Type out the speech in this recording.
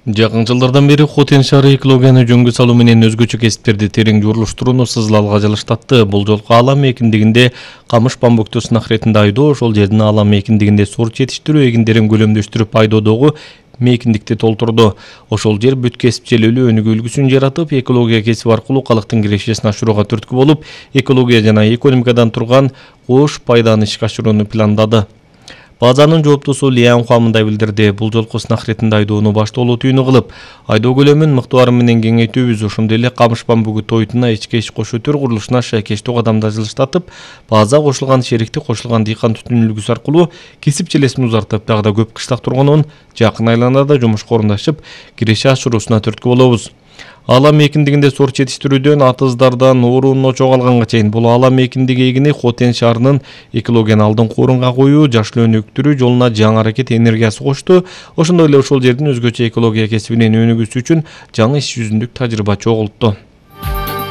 Жакын жылдардан бери Хотен шаары экологияны жөнгө салуу менен өзгөчө кесиптерди терең журулуштурууну сызылалга жалыштатты. Бул жолку Алам экиндигинде камыш бамбукту сынак иретинде айдоо, ошол жердин Алам экиндигинде сорт жетиштирүү эгиндерин көлөмдөштүрүп айдоодогу мейкиндикти толтурду. Ошол жер бүт кесипчилүүлүү өнүгүү үлгүсүн жаратып, экология кесиби аркылуу калктын кирешесин ашырууга түрткү болуп, экология жана экономикадан турган кош пайданы ишке ашырууну пландады. Базанын жооптусу Лиан Хуа мындай билдирди. Бул жолку сынак иретинде айдоону баштоолуу түйүнү кылып, айдоо көлөмүн мыктыбары менен кеңейтүүбүз, ошондой эле камыш бамбугу тойтуна ичке иш кошуу төр курулушуна шайкештүү кадамдар жылыштатып, база кошулган шерикти кошулган дыйкан түтүн үлгүсү аркылуу кесип челесин узартып, дагы да көп кышлак тургунун жакын айланада жумушка орундашып, киреше ашыруусуна түрткү болобуз. Алам экиндигинде сорт жетиштирүүдөн атыздардан оорууну чогалганга чейин бул Алам экиндиги эгини Хотен шаарынын экологияны алдыңкы орунга коюу, жашыл өнүктүрүү жолуна жаңы аракет энергиясы кошту. Ошондой эле ошол жердин өзгөчө экология кесибинин өнүгүүсү үчүн жаңы иш жүзүндүк тажрыйба чогултту.